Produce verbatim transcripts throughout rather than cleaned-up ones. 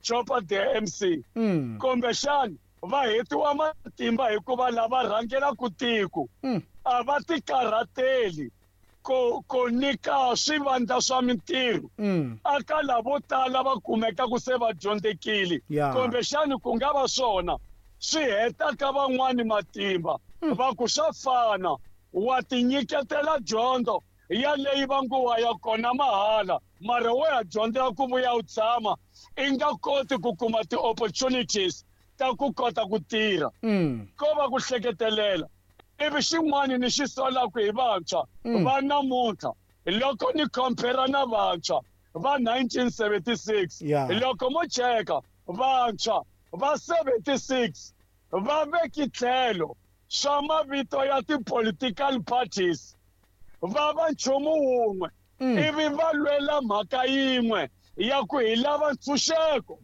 Chopper the M C, Mm. kumbexani va hetiwa matimba hikuva lava rhangelaka tiko Mm. a va tikarhateli ku ku nyika swivandla swa mintirho Mm. aka lavo tala va kumekaku se va dyondzekile. Yeah. Kumbexani ku nga va swona swi hetaka van'wani matimba, va ku swa fana, wa tinyiketela dyondzo ya leyi va ngo wa ya kona mahala, mara wo ya dyondzela ku vuya u tshama i nga koti ku kuma ti-opportunities ta ku kota ku tirha. Mm. Ko va ku hleketelela. Ivi xin'wani ni xi solaka hi vantshwa Mm. va namuntlha, loko ni compare na vantshwa va nineteen seventy-six, Yeah. loko mo cheka vantshwa va seventy-six va veki tlhelo swa mavito ya ti-political parties, va va nchumu wun'we, Mm. ivi va lwela mhaka yin'we ya ku hi lava ntshunxeko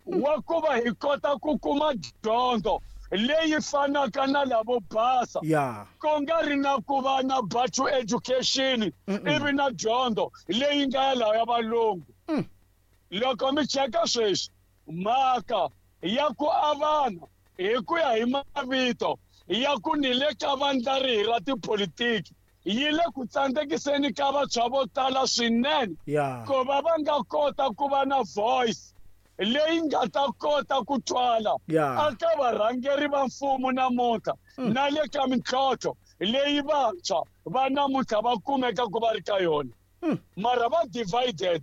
wa ku va hi kota ku kuma dyondzo leyi fanaka na lavo basa, Yeah. ku nga ri na ku va na Bantu education ivi na dyondzo leyi nga ya laha ya valungu. Mm. Loko mi cheka sweswi mhaka ya ku avana hi ku ya hi mavito ya ku ni le ka vandla rihi ra tipolitiki yi le ku tsandzekiseni ka vantshwa vo tala swinene Yeah. ku va va nga kota ku va na voice leyi nga ta kota ku twala Yeah. aka varhangeri va mfumo namuntlha na le ka mintlhontlho leyi vantshwa va namuntlha va kumeka ku va ri ka yona. Mm. Mara va divided,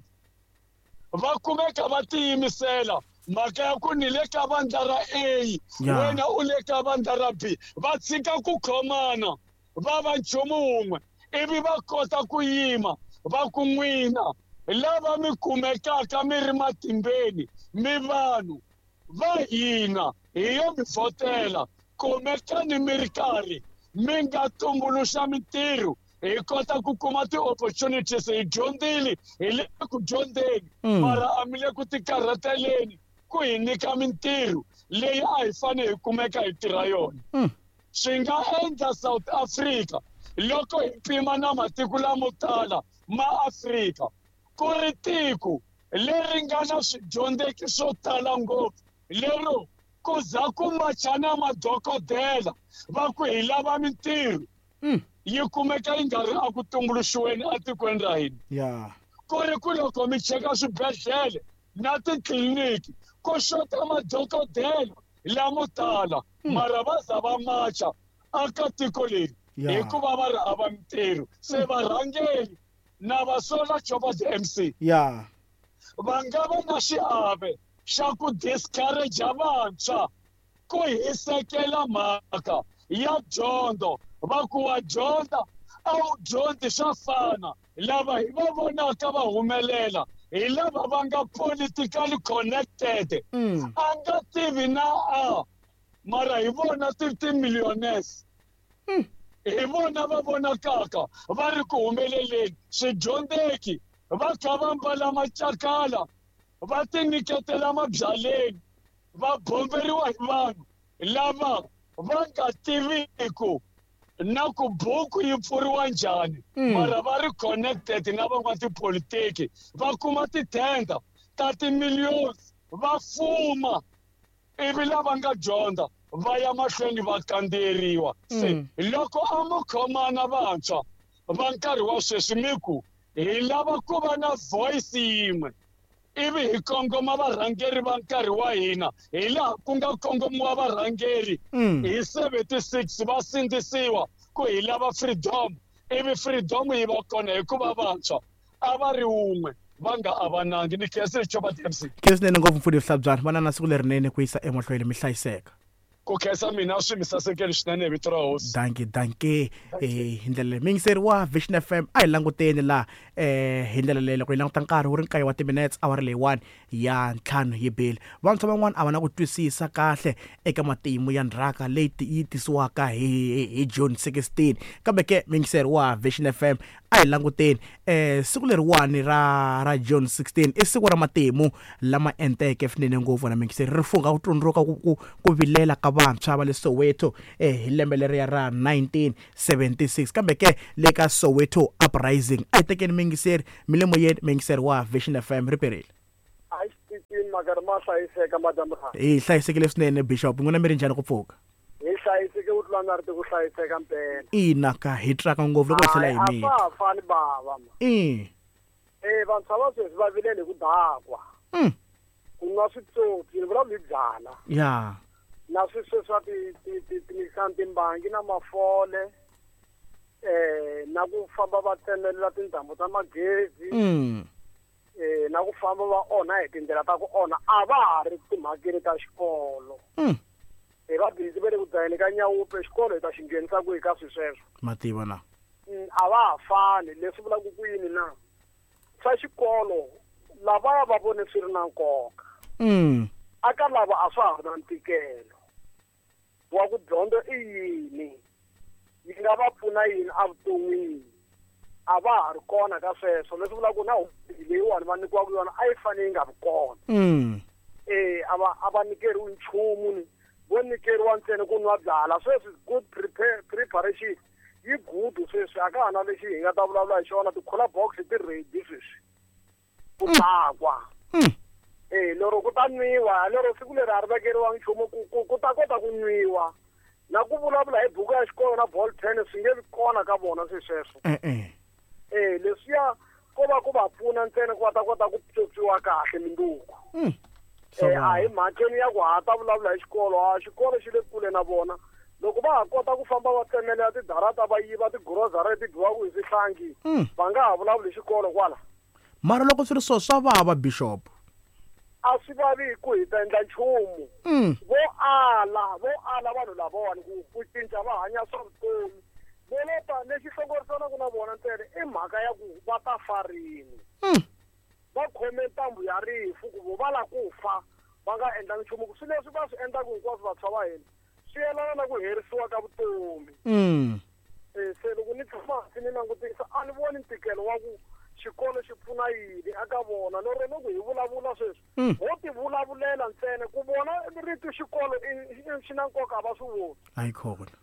va kumeka va tiyimisela mhaka ya ku ni le ka vandla ra A, Yeah. wena u le ka vandla ra B, va tshika ku khomana va va nchumu wun'we, ivi va kota ku yima va ku n'wina lava mi kumekaka mi ri matimbeni, mi vanhu va hina, hi yo mi vhotela, kumekani mi ri karhi mi nga tumbuluxa mintirho, hi kota ku kuma ti-opportunities. Hi dyondzile, hi le ku dyondzeni, Mm. mara a mi le ku tikarhateleni ku hi nyika mintirho leyi a hi fanele hi kumeka hi tirha yona. Mm. Swi nga endla South Africa, loko hi pima na matiko lamo tala ma Afrika, ku ri tiko leri nga na swidyondzeki swo tala ngopfu, lero ku za ku macha na madokodela va ku hi lava mintirho, Mm. yi kumeka yi nga ri aku tumbuluxiweni etikweni ra hina. Yeah. Ku ri ku loko mi cheka swibedhlele na titliliniki, ku xota madokodela lamo tala, mara va za va macha aka tiko leri Yeah. hikuva va ri hava mintirho. Se varhangeri na va sola, Chopper the M C, Yeah. va nga va na xiave xa ku discourage vantshwa ku hisekela mhaka ya dyondzo, va ku wa dyondza a wu dyondzi swa fana. Lava hi va vonaka va humelela hi lava va nga politically connected. Mm. A nga tivi na a, mara hi vona ti ti-millionaires, Mm. hi vona va vonakaka va ri ku humeleleni. Swidyondzeki va kha va mbala macakala, va tinyiketela mabyaleni, va bomberiwa hi vanhu lava va nga tiviku na ku buku yi pfuriwa njhani, Mm. mara va ri connected na van'watipolitiki, va kuma titender ta ti-millions, va fuma, ivi lava nga dyondza va ya mahlweni va kandziyeriwa. Se Mm. loko a mo khomana vantshwa va nkarhi wa sweswi, mi ku hi lava ku va na voice yin'we, ivi hi kongoma varhangeri va nkarhi wa hina hi laha ku nga kongomiwa varhangeri Mm. hi seventy-six, va sindzisiwa ku hi lava freedom, ivi freedom yi va kona hikuva vantshwa a va ri wun'we, va nga avanangi. Ni khensile, Chopper D M C. Khensa swinene ngopfu, mfundhisi Hlabyana. Va na na siku lerinene ku yisa emahlweni, mi hlayiseka. Ku khensa mina, swi mi sasekeli swinene hi vito ra Hosi. Danki, danki. Eh hi ndlela leyi, muyingiseri wa Vision F M, a hi languteni laha eh hi ndlela leyi, loko hi languta nkarhi wu ri nkaye wa timinutes awara leyiwani ya ntlhanu yi bile. Vantshwa van'wana a va na ku twisisa kahle eka matimu ya ndzhaka leyi ti- yi tisiwaka hi hi- hi June sixteen. Kambe ke, muyingiseri wa Vision F M, a hi languteni eh siku leriwani ra ra June sixteen i siku ra matimu lama enteke swinene ngopfu na muyingiseri, ri fungha ku tsundzuka ku ku ku vilela ka vantshwa va le Soweto eh hi lembe leriya ra nineteen seventy-six, kambe ke le ka Soweto Uprising. A hi tekeni muyingiseri, mi le moyeni, muyingiseri wa Vision F M, ri perile. pfukini makari ma hlayiseka madamu. Hi hlayisekile swinene Bishop, n'wina mi ri njhani ku pfuka? Hi hlayiseke ku tlula na ri ku hlayiseka mpela. Ina ka hi traka ngopfu loko hi tlhela hi mita. A fani bava ma. Eh. Eh vantshwa va sweswi va vilele ku dakwa. Mm. Ku nwa switsotsi, ni vulavula hi byala. Ya. Na sweswi swa ti ti ti ti timbangi na mafole. Eh na ku famba va tsemelela tindhambu ta magezi. Mm. Eh na ku famba va onha hi tindlela ta ku onha a va ha ri timhakeni ta xikolo. Mm. Hi va busy va le ku dlayeni ka nyawupe xikolo hi ta xi nghenisa kwihi ka swilo sweswo. Mativa na. A va ha fani leswi vulaka ku yini na swa xikolo lavaya va vone swi ri na nkoka. Mm. Aka lava a swa ha ri na ntikelo wa ku dyondzo i yini yi nga va pfuna yini evuton'wini a va ha ri kona ka sweswo leswi vulaka ku na leyiwani va nyikiwaka yona a yi fanele yi nga vi kona. Mm. Eh a va a va nyikeriwi nchumu ni vo nyikeriwa ntsena ku nwa byala sweswi good prepare preparation yi good sweswi a ka ha na lexi hi nga ta vulavula hi xona ti-cooler box ti ready sweswi ku dakwa. Eh lero ku ta nwiwa lero siku leri a ri vekeriwa nchumu ku ku ku ta kota ku nwiwa na ku vulavula hi buku ya xikolo na ball pen swi nge vi kona ka vona swi sweswo. Eh eh. Eh leswiya ko va ku va pfuna ntsena ku va ta kota ku pyopyiwa kahle minduku. Mm. Eh a hi mhakeni ya ku ha ta vulavula hi xikolo a xikolo xi le kule na vona loko va ha kota ku famba va tsemelela tidarata va yiva tigrosari leti dyiwaka hi swihlangi va nga ha vulavuli hi xikolo kwala. Mara loko swi ri so swa vava Bishop. A swi vavi ku hi ta endla nchumu. Vo ala vo ala vanhu lavawani ku ku cinca va hanya swa vutomi vo leta lexi hlongorisanaka na vona ntsena i mhaka ya ku va ta fa rini. Va khome ntambu ya rifu ku vo va lava ku fa va nga endlangi nchumu ku swilo leswi va swi endlaka hinkwaswo vantshwa va hina swi yelana na ku herisiwa ka vutomi. Mm. Eh se loko ni tshama hansi ni langutisa a ni voni ntikelo wa ku xikolo xi pfuna yini aka vona lero loko hi vulavula sweswi ho ti vulavulela ntsena ku vona rito xikolo xi na nkoka a va swi voni. A yi kona.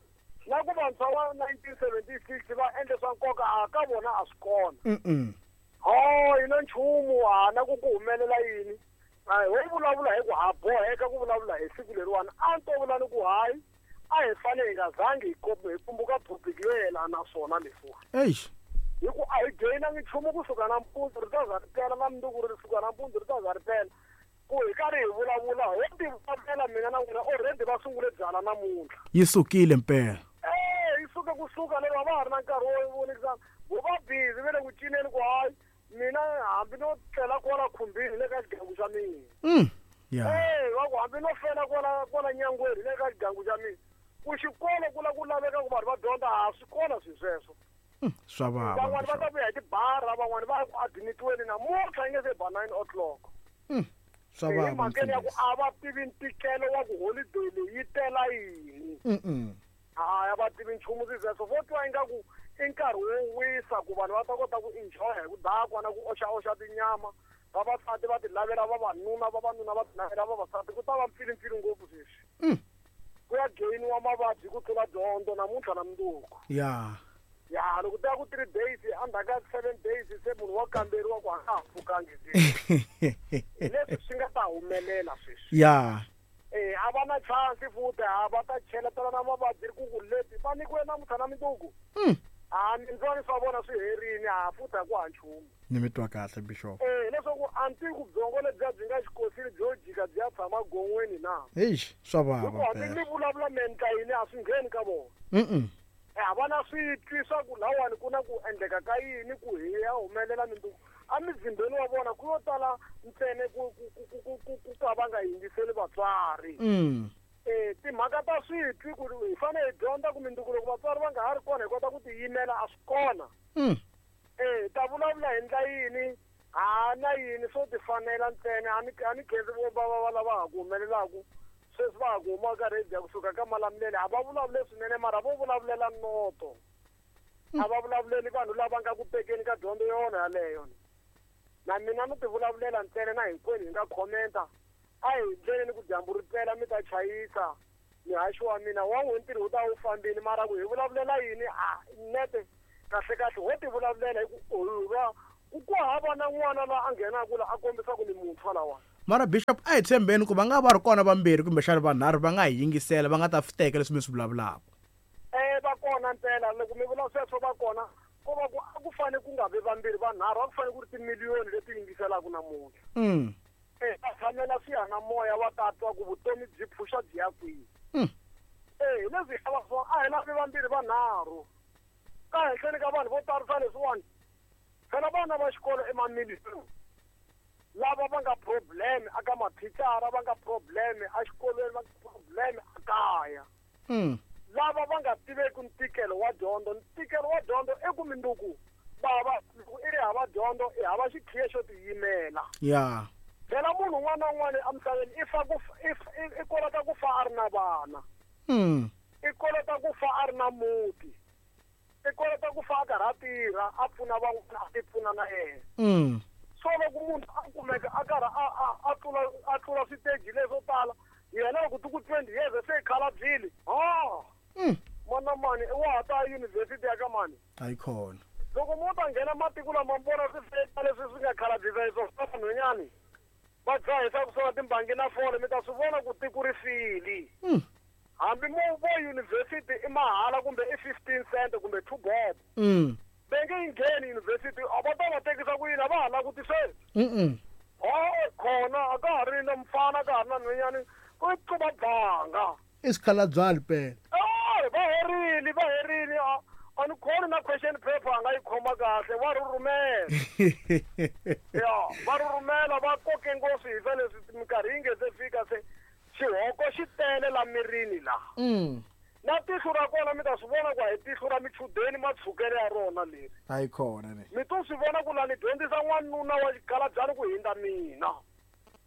Na ku vantshwa va nineteen seventy-six va endle swa nkoka a ka vona a swi kona. Mm. Ho hi na nchumu ha na ku ku humelela yini a ho vulavula hi ku ha boheka ku vulavula hi siku leriwani a ni to vula ni ku hayi a hi fanele hi nga zangi hi hi pfumbuka topic yo yelana na swona leswiwani. Eish. Hi ku a hi gainangi nchumu kusuka nampundzu ri ta za ri pela na mundzuku ri suka nampundzu ri ta za ri pela ku hi karhi hi vulavula ho ti vulavula mina na n'wina already va sungule byala namuntlha. Yi sukile mpela. Eh yi suke kusuka lero a va ha ri na nkarhi wo vonikisana vo va busy va le ku cineni ku hayi mina hambi no tlela kwala khumbini le ka xigangu xa mina. Mm. Yeah. Eh va ku hambi no fela kwala kwala nyangweni le ka xigangu xa mina ku xikolo ku la ku laveka ku vanhu va dyondza a swi kona swilo sweswo. Swa vava. Van'wani va ta vuya hi tibara van'wani va ku admitiweni namuntlha yi nge se ba nine o'clock. Mm. Swa vava. Hi mhakeni ya ku a va tivi ntikelo wa ku holiday leyi yi tela yini. Mm. Hayi a va tivi nchumu swi sweswo vo twa ingaku i nkarhi wo wisa ku vanhu va ta kota ku enjoy hi ku dakwa na ku oxaoxa tinyama vavasati va ti lavela vavanuna vavanuna va ti lavela vavasati ku ta va mpfilimpfili ngopfu sweswi. Mm. Ku ya gainiwa mavabyi ku tlula dyondzo namuntlha na mundzuku. Ya. Ya loko ta ku three days endzhaku ka seven days se munhu wa kamberiwa ku a nga ha pfukangi leswi swi nga ta humelela sweswi. Ya. Eh a va na chance futhi a va ta cheletela na mavabyi ku ku leti va nyikiwe namuntlha na mundzuku. Mm. A mindzwani swa vona swi herini a futhi a ku ha nchumu. Ni mi twa kahle Bishop. Eh leswaku a ni tivi ku byongo lebyiya byi nga xikosini byo jika byi ya tshama gon'weni na. Eish swa vava. Hikuva hambi ni vulavula mentla yini a swi ngheni ka vona. Mm. A va na switwi swa ku lawani ku na ku endleka ka yini ku hi ya humelela minduku emizimbeni wa vona ku yo tala ntsena ku ku ku ku ku ku ka va nga yingiseli vatswari. Mm. Eh timhaka ta switwi ku hi fanele hi dyondza ku minduku loko vatswari va nga ha ri kona hi kota ku tiyimela a swi kona. Mm. Eh ta vulavula hi ndla yini ha na yini swo ti fanela ntsena a ni a ni khensi vo va va lava ha ku humelelaku sweswi va ha ku huma ka radio kusuka ka Malamulele a va vulavule swinene mara vo vulavulela noto. A va vulavuleli vanhu lava nga ku tekeni ka dyondzo yona yaleyo. Na mina no ti vulavulela ntsena na hinkwenu hi nga commenta a hi ndleleni ku dyambu ri pela mi ta chayisa mihaxo wa mina wa n'we ntirho wu ta wu fambile mara ku hi vulavulela yini a nete kahle kahle ho ti vulavulela hi ku va ku ku hava na n'wana la a nghenaka la a kombisa ku ni muntshwa lawa. Mara Bishop a hi tshembeni ku va nga va ri kona vambirhi kumbexana vanharhu va nga hi yingisela va nga ta fi teka leswi mi swi vulavulaka. Eh va kona ntsena loko mi vula sweswo va kona ko va ku a ku fane ku nga vi vambirhi vanharhu a ku fane ku ri timiliyoni leti yingiselaka namuntlha. Mm. Eh va tshamela swiyanimoya va ta twa ku vutomi byi pfuxa byi ya kwihi. Mm. Eh hi leswi hi lava swona a hi lavi vambirhi vanharhu ka henhleni ka vanhu vo tarisa leswiwani phela vana va xikolo i mamiliyoni lava va nga problem aka mathicara va nga problem exikolweni va nga problem ekaya. Mm. Lava va nga tiveki ntikelo wa dyondzo ntikelo wa dyondzo i ku minduku bava loko i ri hava dyondzo i hava xikhiya xo tiyimela. Ya. Phela munhu un'wana na un'wana emisaveni i fa ku i kolota ku fa a ri na vana. Mm. I kolota ku fa a ri na muti. I kolota ku fa a karhi a tirha a pfuna van'wana a ti pfuna na yena. Mm. So loko munhu a kumeka a karhi a a a tlula a tlula switeji leswo tala yena loko ti ku twenty years se i khalabyile. Ha. Mm. Mana mani wa ha ta yunivhesiti ya ka mani. A yi kona. Loko mo ta nghena matiko lama mi vona swi leswi swi nga khalabyisa hi swona vanhwanyani va dzahisa ku swona timbangi na fole mi ta swi vona ku tiko ri file. Mm. Hambi mo vo yunivhesiti i mahala kumbe i fifteen cent kumbe two bob. Mm. Va nge yi ngheni yunivhesiti a va ta va tekisa ku yini a va ha langutiseli. Mm. Ha khona a ka ha ri na mfana a ka ha ri na nhwanyani ku tluva banga. I swikhalabyani phela. Eh va herile va herile a a ni khoni na question paper a nga yi khoma kahle va rhurhumela. Ya va rhurhumela va koke ngopfu hi swa leswi minkarhi yi nge se fika se xihoko xi tele la mirini laha. Mm. Na tihlo ra kona mi ta swi vona ku a hi tihlo ra michudeni matshukele ya rona leri. A yi kona ne. Mi to swi vona ku la ni dyondzisa n'wanuna wa xikhalabyani ku hindza mina.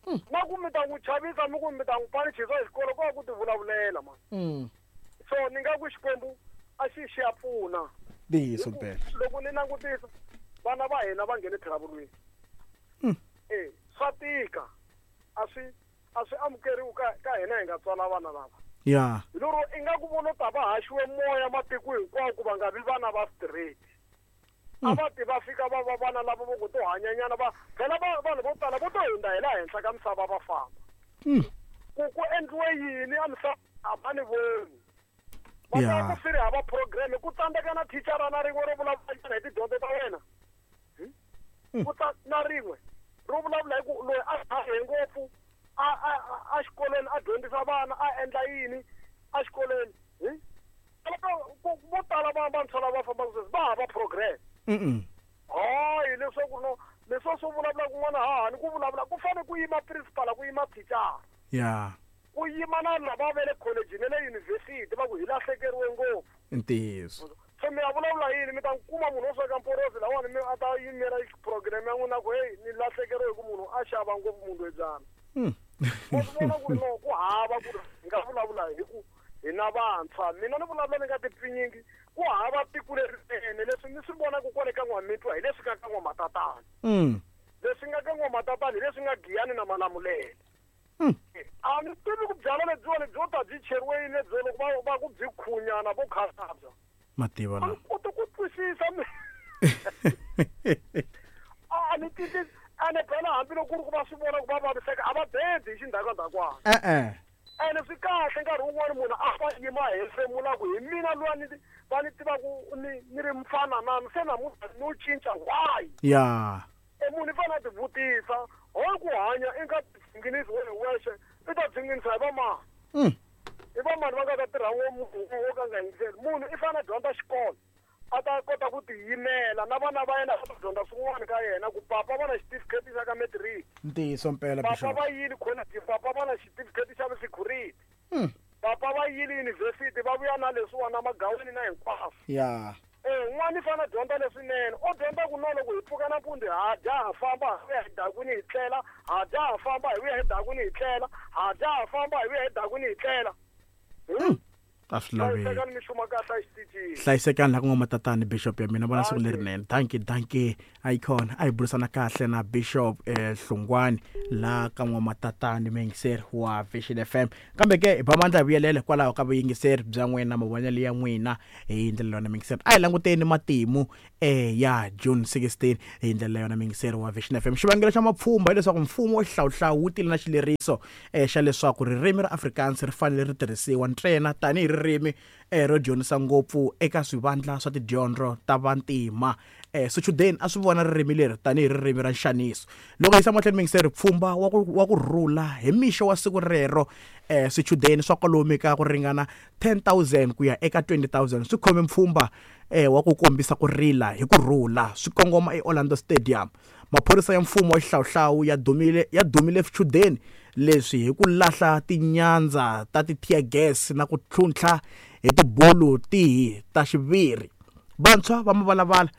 Mm. Na ku mi ta n'wi chavisa mi ku mi ta n'wi panichisa hi xikolo ko va ku ti vulavulela man. Mm. So ni nga ku Xikwembu a xi xi ya pfuna. Ntiyiso mpela. Loko ni langutisa vana va hina va nghene travulweni. Mm. Eh swa tika a swi a swi amukeriwi ka ka hina hi nga tswala vana lava. Ya. Hi lero i nga ku vona ta va haxiwe moya matiko hinkwawo ku va nga vi vana va straight. A va ti va fika va va vana lava vo ku to hanyanyana va phela va vanhu vo tala vo to hundza hi laha henhla ka misava va famba. Mm. Ku ku endliwe yini a misava a va ni voni. Va Ya. ta ku swi ri hava program ku tsandzeka na thicara na rin'we ro vulavula hi tidyondzo ta wena. Mm. Ku ta na rin'we ro vulavula hi ku loyi a hahe ngopfu a a a xikolweni a dyondzisa vana a endla yini a xikolweni hi vo tala va vantshwa lava fambaka sweswi va hava progress. Mm. Hayi leswaku no leswo swo vulavula kun'wana hahani ku vulavula ku fane ku yima principal ku yima thicara. Ya. Ku yima na lava va le college na le university va ku hi lahlekeriwe ngopfu. Ntiyiso. So mi ya vulavula yini mi ta kuma munhu wo sweka mporosi lawani mi a ta yimela program ya n'wina ku hey ni lahlekeriwe hi ku munhu a xava ngopfu munhu loyi. Mm. Wa swi vona ku ri no ku hava ku ri hi nga vulavula hi ku hi na vantshwa mina ni vulavula ni nga tipfinyingi ku hava tiko lerinene leswi ni swi vonaka kwale ka N'wamitwa hi leswi nga ka N'wamatatana. Mm. Leswi nga ka N'wamatatana hi leswi nga Giyani na Malamulele. Mm. A ni tivi ku byala lebyiwani byo ta byi cheriwe yini lebyo loko va va ku byi khunyana vo khalabya. Mativa A la. ni koti ku twisisa mi a ni twisisi ene phela hambiloko ku ri ku va swi vona ku va vaviseka a va bendi hi xindhakandhakwana. Eh eh. Ene swi kahle nkarhi wun'wani munhu a fa yima hefemula ku hi mina luya ni va ni tivaku ni ni ri mfana nani se namuntlha no cinca why. Ya. E munhu i fanele a ti vutisa hoyi ku hanya i nga tibzinginisi we hi wexe i ta bzinginisa hi vamani. Mm. I vamani va nga ta tirha wo munhu wo ka nga yingiseli munhu i fanele a dyondza xikolo a ta kota ku tiyimela na vana va yena va ta dyondza swin'wana ka yena ku papa va na xitifiketi xa ka matric. Ntiyiso mpela Papa Bishop. va yile college papa va na xitifiketi xa security. Mm. Papa va yile university va vuya na leswiwana magaweni na hinkwaswo. Ya. Eh n'wana i fanele a dyondza leswinene o dyondza ku no loko hi pfuka nampundzu ha dya ha famba hi vuya hi dakwini hi tlela ha dya ha famba hi vuya hi dakwini hi tlela ha dya ha famba hi vuya hi dakwini hi tlela. Mm. A swi laveki. Hlayisekani mi xuma kahle exitichini. Hlayisekani la ku nga matatani Bishop ya mina, vona siku lerinene. Dankie, dankie. Icon a hi burisana kahle na Bishop eh, Hlungwani la ka n'wamatatani muyingiseri wa Vision F M. Kambe ke hi ba mandla hi vuyelele hikwalaho ka vuyingiseri bya n'wina, mavonelo ya n'wina hi ndlela yona muyingiseri. A hi languteni matimu eh, ya June sixteen hi ndlela yona muyingiseri wa Vision F M. Xivangelo xa mapfhumba hileswaku mfumo wa xihlawuhlawu wu tile na xileriso eh, xa leswaku ririmi ra Afrikaans ri fanele ri tirhisiwa ntsena tanihi ririmi eh, ro dyondzisa ngopfu eka swivandla swa tidyondzo ta vantima. Eh, swichudeni a swi vona ririmi leri tanihi ririmi ra nxaniso. Loko hi yisa mahlweni muyingiseri, pfhumba wa ku, wa ku rhula hi mixo wa siku rero eh, swichudeni swa kwalomu ka ku ringana ten thousand ku ya eka twenty thousand swi khome mpfhumba eh, wa ku kombisa ku rila hi ku rhula swi kongoma eOrlando Stadium. Maphorisa ya mfumo wa xihlawuhlawu ya dumile, ya dumile swichudeni leswi hi ku lahla tinyandza ta ti-tear gas na ku tlhuntlha hi tibulu tihi ta xiviri. Vantshwa va mavalavala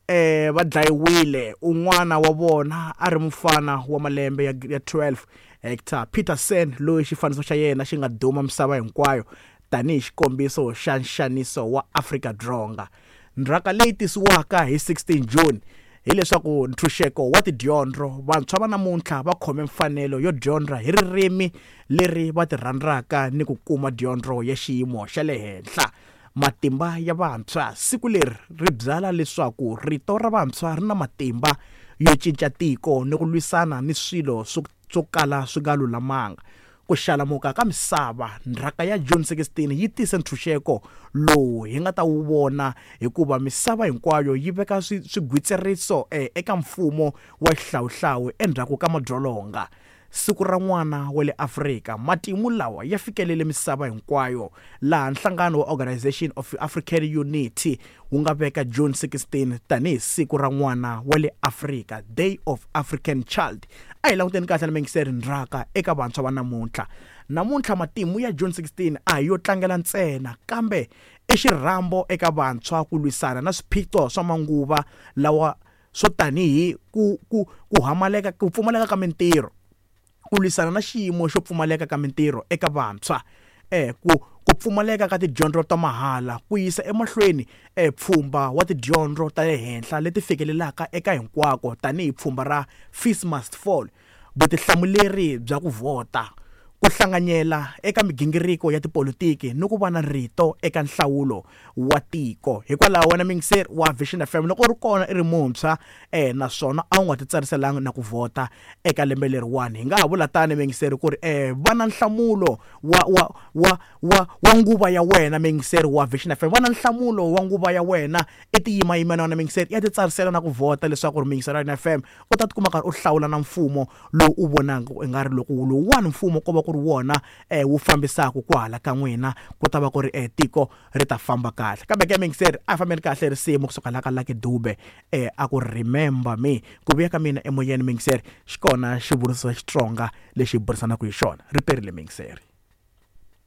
eh, va dlayiwile, un'wana wa vona a ri mufana wa malembe ya, ya twelve, Hector Peterson, loyi xifaniso xa yena xi nga duma misava hinkwayo tanihi xikombiso xa nxaniso wa Afrika-Dzonga. Ndzhaka leyi tisiwaka hi sixteen June hileswaku ntshunxeko wa tidyondzo, vantshwa va namuntlha va khome mfanelo yo dyondza hi ririmi leri va ti rhandzaka ni ku kuma dyondzo ya xiyimo xa le henhla. Matimba ya vantshwa, siku leri ri byala leswaku rito ra vantshwa ri na matimba yo cinca tiko ni ku lwisana ni swilo swo, swo kala swi nga lulamanga. Ku xalamuka ka misava, ndzhaka ya June sixteen yi tise ntshunxeko lowu hi nga ta wu vona hikuva misava hinkwayo yi veka swi, swigwitsiriso eh, eka mfumo wa xihlawuhlawu endzhaku ka madzolonga. Siku ra n'wana wa le Afrika, matimu lawa ya fikelele misava hinkwayo laha nhlangano wa Organization of African Unity wu nga veka June sixteen tanihi siku ra n'wana wa le Afrika, Day of African Child. A hi languteni kahle na muyingiseri ndzhaka eka vantshwa va namuntlha. Namuntlha matimu ya June sixteen a hi yo tlangela ntsena, kambe i xirhambo eka vantshwa ku lwisana na swiphiqo swa manguva lawa swo tanihi ku, ku, ku hamaleka, ku pfumaleka ka mintirho, ku lwisana na xiyimo xo pfumaleka ka mintirho eka vantshwa, eh, ku, ku pfumaleka ka tidyondzo ta mahala, ku yisa emahlweni eh, pfhumba wa tidyondzo ta le henhla leti fikelelaka eka hinkwako tanihi pfhumba ra Fees Must Fall, vutihlamuleri bya ku vhota, ku hlanganyela eka migingiriko ya tipolitiki ni ku va na rito eka nhlawulo wa tiko. Hikwalaho wena muyingiseri wa Vision F M, loko u ri kona i ri muntshwa eh, naswona a wu nga titsariselanga na ku vhota eka lembe leriwani, hi nga ha vula tani muyingiseri ku ri eh, va na nhlamulo wa, wa, wa, wa, wa nguva ya wena muyingiseri wa Vision F M, va na nhlamulo wa nguva ya wena i tiyimayimela wena muyingiseri ya titsarisela na ku vhota leswaku ri muyingiseri wa F M u ta tikuma karhi u hlawula na mfumo lowu u vonaka i nga ri loko lowuwani mfumo ko va ku ri wona eh, wu fambisaka kwahala ka n'wina, ku ta va ku ri eh, tiko ri ta famba kahle. Kambe ke muyingiseri a fambeni kahle risimu kusuka la ka Lucky Dube eh, a ku Remember Me. Ku vuya ka mina emoyeni muyingiseri xi kona xivuriso xa Xitsonga lexi hi burisanaka hi xona. Ri perile muyingiseri.